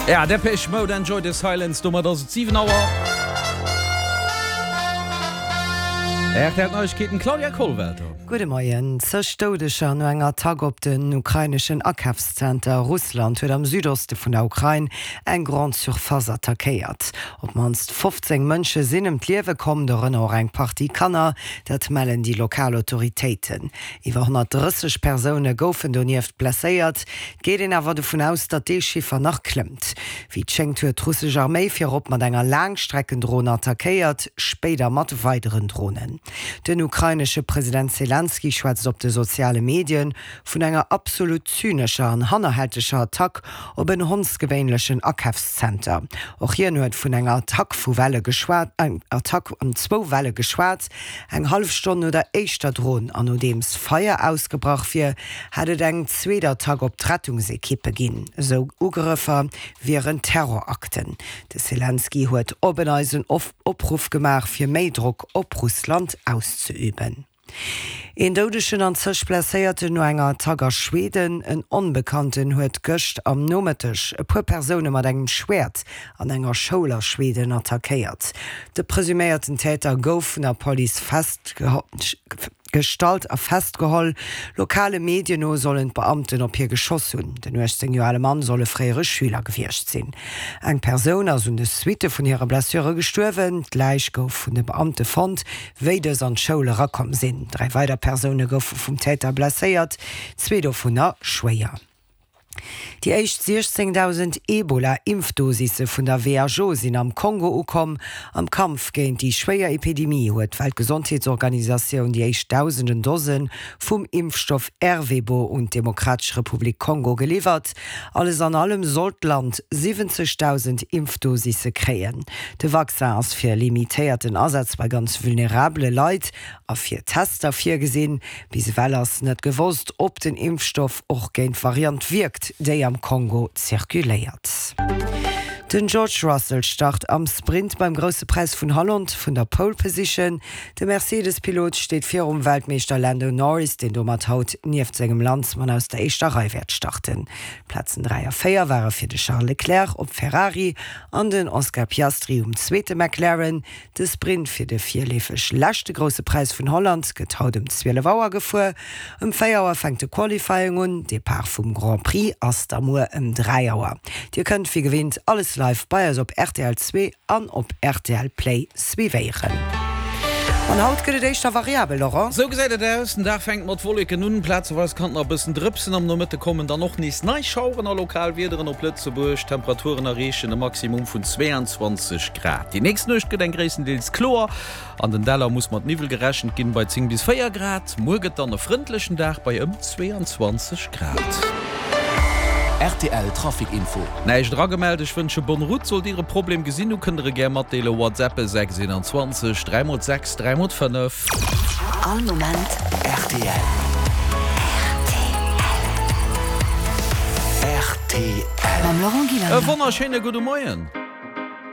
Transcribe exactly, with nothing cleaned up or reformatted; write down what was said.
Ja, Depeche Mode, Enjoy the Silence, domat ass et siwen Auer. R T L Neiegkeeten, Claudia Kollwelter. Gudde Moien. Zeg Doudeger no enger Attack op den ukraineschen Akafszenter. Russland huet am Südoste vun der Ukrain eng Grande Surface attackéiert. Op d'mannst fofzéng Mënsche sinn ëm d'Liewe komm, dorënner och eng Partie Kanner. Dat mellen déi lokal Autoritéiten. Iwwer honnertdrësseg Persoune goufen donieft blesséiert. Et geet een awer dovun aus, datt dee Chiffer nach klëmmt. Wéi et schéngt huet d'russesch Arméi virop mat enger Laangstreckendron attackéiert, spéider mat weideren Dronen. Den ukrainesche President Selenskyj schwätzt op de soziale Medie vun enger absolut zynescher an hannerhälteger Attack op en hondsgewéinlechen Akafszenter. Och hien huet vun enger Attack vu Welle geschwat, Attack an zwou Welle geschwat. Eng hallef Stonn no der éischter Dron an nodeems Feier ausgebrach wier, hätt et eng zweet Attack op d'Rettungsekippe ginn. Esou Ugrëffer wieren Terrorakten. De Selenskyj huet op en Neits en Opruff gemaach, fir méi Drock op Russland auszeüben. Een Doudegen an zeg Blesséierten no enger Attack a Schweden. En Onbekannten huet gëscht am Nomëtteg e puer Persoune mat engem Schwäert an enger Schoul a Schweden attackéiert. De presuméierten Täter gouf vun der Police festgestallt a festgeholl. Lokale Medien no sollen d'Beamten op hie geschoss hunn. Den uechtzéng Joer ale Mann soll e fréiere Schüler gewiescht sinn. Eng Persoun ass un de Suitte vun hire Blessure gestuerwen. D'Läich gouf vun de Beamte fonnt, wéi dës an d'Schoul erakomm sinn. Dräi weider Persoune goufe vum Täter blesséiert, zwee dovunner schwéier. Déi éischt siechzéngdausend Ebola-Impfdosisse vun der W H O sinn am Kongo ukomm. Am Kampf géint déi schwéier Epidemie huet d'Weltgesondheetsorganisatioun déi éischt dausenden Dose vum Impfstoff Ervebo un d'Demokratesch Republik Kongo geliwwert. Alles an allem soll d'Land siwwenzegdausend Impfdosisse kréien. De Vaccin ass fir limitéierten Asaz bei ganz vulnerabele Leit a fir Tester virgesinn. Bis ewell ass net gewosst, ob den Impfstoff och géint d'Variant wierkt, déi am Kongo zirkuléiert. Den George Russell start am Sprint beim Grousse Präis vun Holland vun der Pole Position. De Mercedes-Pilot steet virum Weltmeeschter Lando Norris, deen domat haut nieft sengem Landsmann aus der éischter Rei wäert starten. D'Plazen dräi a véier ware fir de Charles Leclerc op Ferrari an den Oscar Piastri um zweete McLaren. De Sprint fir de virleefeg leschte Grousse Präis vun Holland gëtt haut ëm zwielef Auer gefuer. Ëm véier Auer fänkt de Qualifying un, Depart vum Grand Prix ass da muer ëm dräi Auer. Dir kënnt wéi gewinnt alles live bei eis op R T L zwee an op R T L Play suivéieren. An haut gëtt et éischter variabel, Laurent. Sou gesäit et aus, Den Dag fänkt mat Wolleken un, plazeweis kann et nach e bëssen drëpsen. Am Nomëtte kommen dann och nees nei Schaueren a lokal Wiederen op Lëtzebuerg. D'Temperaturen erreechen e Maximum vun zweeanzwanzeg Grad. Déi nächst Nuecht gëtt eng gréisstendeels kloer, an den Däller muss mat Niwwel gerechent ginn, bei zéng bis véier Grad. Muer gëtt dann e frëndlechen Dag bei ëm zweeanzwanzeg Grad. R T L Trafic Info. Näischt eragemellt, ech wënsche bonne route. Sollt dir e Problem gesinn hu kënnt der e gär matdeelen, WhatsApp sechs eenanzwanzeg dräi mol sechs dräi mol fënnef. All Moment R T L. R T L. R T L. Mam Laurent E Gillander. Wonnerschéine gudde Moien.